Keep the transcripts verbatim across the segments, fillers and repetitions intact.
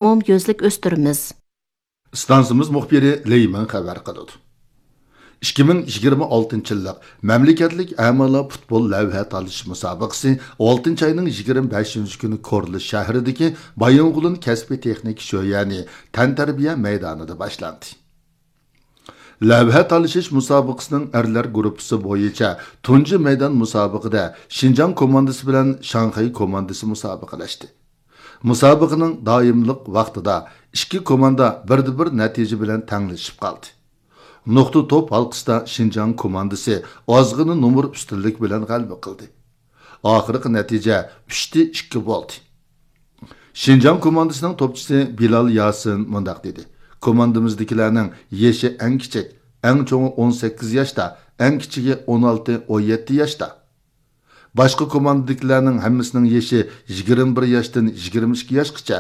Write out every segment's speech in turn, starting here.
ئومۇميۈزلۈك ئۆستۈرىمىز. ئىستانسىمىز مۇخبىرى لېي مىڭ خەۋەر قىلىدۇ. ئىككى مىڭ يىگىرمە ئالتىنچى يىللىق مەملىكەتلىك ئەمالا پۇتبول لەۋھە تالىشىش مۇسابىقىسى ئالتىنچى ئاينىڭ يىگىرمە بەشىنچى كۈنى كورلا شەھىرىدىكى بايىنغولىن كەسپىي تېخنىكا شۆيەنى تەنتەربىيە مەيدانىدا باشلاندى. لەۋھە تالىشىش مۇسابىقىسىنىڭ ئەرلەر گۇرۇپپىسى بويىچە تۇنجى مەيدان مۇسابىقىدە شىنجاڭ كوماندىسى بىلەن شاڭخەي كوماندىسى مۇسابىقىلەشتى. مۇسابىقىنىڭ دائىملىق ۋاقتىدا ئىككى كوماندا بىردە بىر نەتىجە بىلەن تەڭلىشىپ قالدى. نۇقتا توپ ھالقىسىدا شىنجاڭ كوماندىسى ئازغىنە نومۇر ئۈستۈنلۈك بىلەن غەلىبە قىلدى. ئاخىرقى نەتىجە ئۈچتە ئىككى بولدى. شىنجاڭ كوماندىسىنىڭ توپچىسى بىلال ياسىن مۇنداق دېدى: كوماندىمىزدىكىلەرنىڭ يېشى ئەڭ كىچىك، ئەڭ چوڭى ئون سەككىز ياشتا، ئەڭ كىچىكى ئون ئالتە، ئون يەتتە ياشتا. باشقا كوماندىدىكىلەرنىڭ ھەممىسىنىڭ يېشى يىگىرمە بىر ياشتىن يىگىرمە ئىككى ياشقىچە،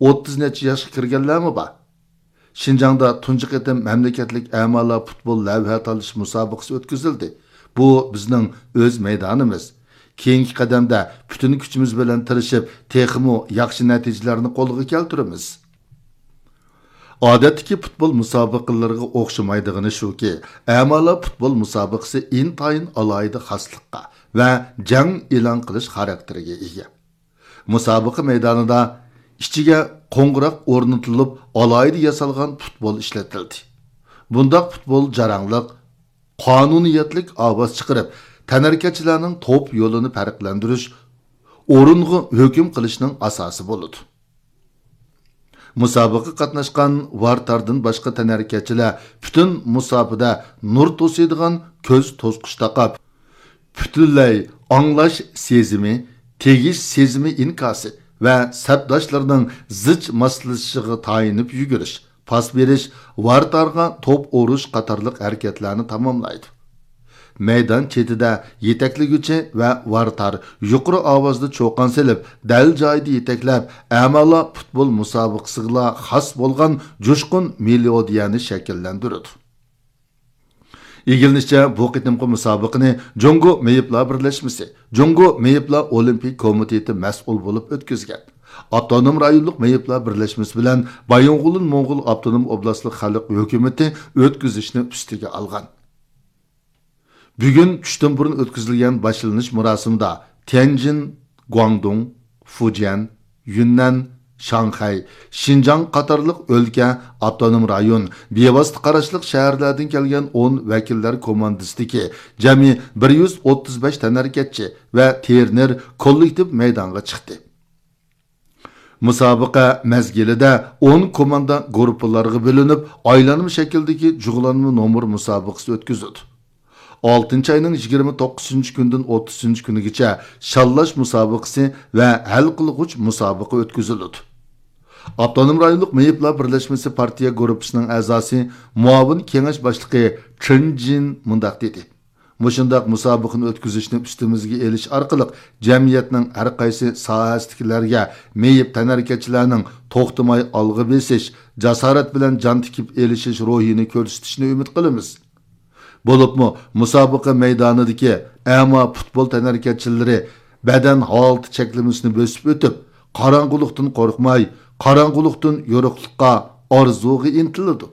ئوتتۇز نەچچە ياشقا كىرگەنلەرمۇ بار. شىنجاڭدا تۇنجى قېتىم مەملىكەتلىك ئەمالا پۇتبول لەۋھە تالىشىش مۇسابىقىسى ئۆتكۈزۈلدى. بۇ بىزنىڭ ئۆز مەيدانىمىز. كېيىنكى قەدەمدە پۈتۈن كۈچىمىز بىلەن تىرىشىپ، تېخىمۇ ياخشى نەتىجىلەرنى قولغا كەلتۈرىمىز. ئادەتتىكى پۇتبول مۇسابىقىلىرىغا ئوخشىمايدىغىنى شۇكى، ئەمالا پۇتبول مۇسابىقىسى ئىنتايىن ئالاھىدە خاسلىققا ۋە جەڭ ئېلان قىلىش خاراكتېرىگە ئىگە. مۇسابىقە مەيدانىدا ئىچىگە قوڭغۇراق ئورنىتىلىپ، ئالاھىدە ياسالغان پۇتبول ئىشلىتىلدى. بۇنداق پۇتبول جاراڭلىق، قانۇنىيەتلىك ئاۋاز چىقىرىپ، تەنھەرىكەتچىلەرنىڭ توپ يولىنى پەرقلەندۈرۈش، ئورۇنغا ھۆكۈم قىلىشنىڭ ئاساسى بولىدۇ. مۇسابىقىگە قاتناشقان ۋارتاردىن باشقا تەنھەرىكەتچىلەر پۈتۈن مۇساپىدە نۇر توسۇيدىغان كۆز توسقۇچ تاقاپ، پۈتۈنلەي ئاڭلاش سېزىمى، تېگىش سېزىمى ئىنكاسى ۋە سەپداشلىرىنىڭ زىچ ماسلىشىشىغا تايىنىپ يۈگۈرۈش، پاس بېرىش، ۋارتارغا توپ ئۇرۇش قاتارلىق ھەرىكەتلەرنى تاماملايدۇ. مەيدان چېتىدە يېتەكلىگۈچى ۋە ۋارتار يۇقىرى ئاۋازدا چۇقان سېلىپ، دەل جايىدا يېتەكلەپ، ئەمالا پۇتبول مۇسابىقىسىغىلا خاس بولغان جۇشقۇن مېلودىيەنى شەكىللەندۈرىدۇ. ئىگىلىنىشىچە، بۇ قېتىمقى مۇسابىقىنى جۇڭگو مېيىپلار بىرلەشمىسى، جۇڭگو مېيىپلار ئولىمپىك كومىتېتى مەسئۇل بولۇپ ئۆتكۈزگەن. ئاپتونوم رايونلۇق مېيىپلار بىرلەشمىسى بىلەن بايىنغولىن موڭغۇل ئاپتونوم ئوبلاستلىق خەلق ھۆكۈمىتى ئۆتكۈزۈشنى ئۈستىگە ئالغان. بۈگۈن چۈشتىن بۇرۇن ئۆتكۈزۈلگەن باشلىنىش مۇراسىمىدا تيەنجىن، گۇاڭدۇڭ، فۇجيەن، يۈننەن، شاڭخەي، شىنجاڭ قاتارلىق ئۆلكە، ئاپتونوم رايون، بىۋاسىتە قاراشلىق شەھەرلەردىن كەلگەن ئون ۋەكىللەر كوماندىسىدىكى جەمئىي بىر يۈز ئوتتۇز بەش تەنھەرىكەتچى ۋە ترېنېر كوللېكتىپ مەيدانغا چىقتى. مۇسابىقە مەزگىلىدە ئون كوماندا گۇرۇپپىلارغا بۆلۈنۈپ، ئايلانما شەكىلدىكى جۇغلانما نومۇر مۇسابىقىسى ئۆتكۈزۈلدى. ئالتىنچى ئاينىڭ يىگىرمە توققۇزىنچى كۈنىدىن ئوتتۇزىنچى كۈنىگىچە شاللاش مۇسابىقىسى ۋە ھەل قىلغۇچ مۇسابىقە ئۆتكۈزۈلىدۇ. ئاپتونوم رايونلۇق مېيىپلار بىرلەشمىسى پارتىيە گۇرۇپپىسىنىڭ ئەزاسى، مۇئاۋىن كېڭەش باشلىقى چېن جىن مۇنداق دېدى: مۇشۇنداق مۇسابىقىنى ئۆتكۈزۈشنى ئۈستىمىزگە ئېلىش ئارقىلىق، جەمئىيەتنىڭ ھەر قايسى ساھەسىدىكىلەرگە مېيىپ تەنھەرىكەتچىلەرنىڭ توختىماي ئالغا بېسىش، جاسارەت بىلەن جان تىكىپ ئېلىشىش روھىنى كۆرسىتىشىنى ئۈمىد قىلىمىز. بولۇپمۇ مۇسابىقە مەيدانىدىكى ئەما پۇتبول تەنھەرىكەتچىلىرى بەدەن ھالىتى چەكلىمىسىنى بۆسۈپ ئۆتۈپ، قاراڭغۇلۇقتىن قورقماي، قاراڭغۇلۇقتىن يورۇقلۇققا، ئارزۇغا ئىنتىلىدۇ.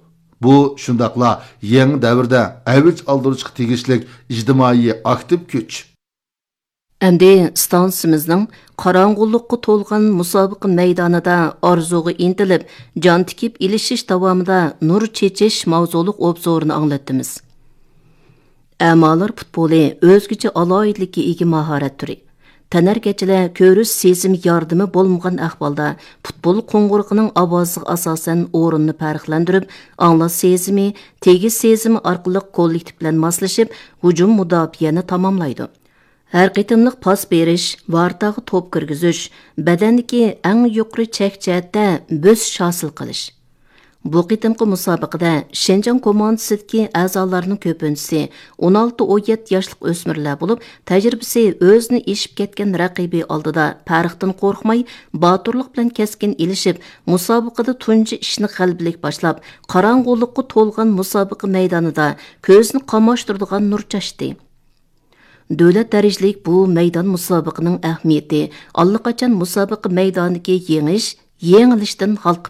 بۇ شۇنداقلا يېڭى دەۋردە ئەۋج ئالدۇرۇشقا تېگىشلىك ئىجتىمائىي ئاكتىپ كۈچ. ئەمدى ئىستانسىمىزنىڭ قاراڭغۇلۇققا تولغان مۇسابىقە مەيدانىدا ئارزۇغا ئىنتىلىپ، جان تىكىپ ئېلىشىش داۋامىدا نۇر چېچىش ماۋزۇلۇق ئوبزورىنى ئاڭلاتتىمىز. ئەمالار پۇتبولى ئۆزگىچە ئالاھىدىلىككە ئىگە ماھارەت تۈرى. تەنھەرىكەتچىلەر كۆرۈش سېزىمى ياردىمى بولمىغان ئەھۋالدا، پۇتبول قوڭغۇرىقىنىڭ ئاۋازىغا ئاساسەن ئورۇننى پەرقلەندۈرۈپ، ئاڭلاش سېزىمى، تېگىش سېزىمى ئارقىلىق كوللېكتىپ بىلەن ماسلىشىپ، ھۇجۇم مۇداپىئەنى تاماملايدۇ. ھەر قېتىملىق پاس بېرىش، ۋارتاغا توپ كىرگۈزۈش، بەدەندىكى ئەڭ يۇقىرى چەك جەھەتتە بۆسۈش ھاسىل قىلىش. بۇ قېتىمقى مۇسابىقىدە شىنجاڭ كوماندىسىدىكى ئەزالارنىڭ كۆپىنچىسى ئون ئالتە، ئون يەتتە ياشلىق ئۆسمۈرلەر بولۇپ، تەجرىبىسى ئۆزىنى ئېشىپ كەتكەن رەقىبى ئالدىدا پەرقتىن قورقماي، باتۇرلۇق بىلەن كەسكىن ئېلىشىپ، مۇسابىقىدە تۇنجى ئىشنى غەلىبىلىك باشلاپ، قاراڭغۇلۇققا تولغان مۇسابىقە مەيدانىدا كۆزنى قاماشتۇرىدىغان نۇر چاچتى. دۆلەت دەرىجىلىك بۇ مەيدان مۇسابىقىنىڭ ئەھمىيىتى ئاللىقاچان مۇسابىقە مەيدانىدىكى يېڭىش، يېڭىلىشتىن ھالقىپ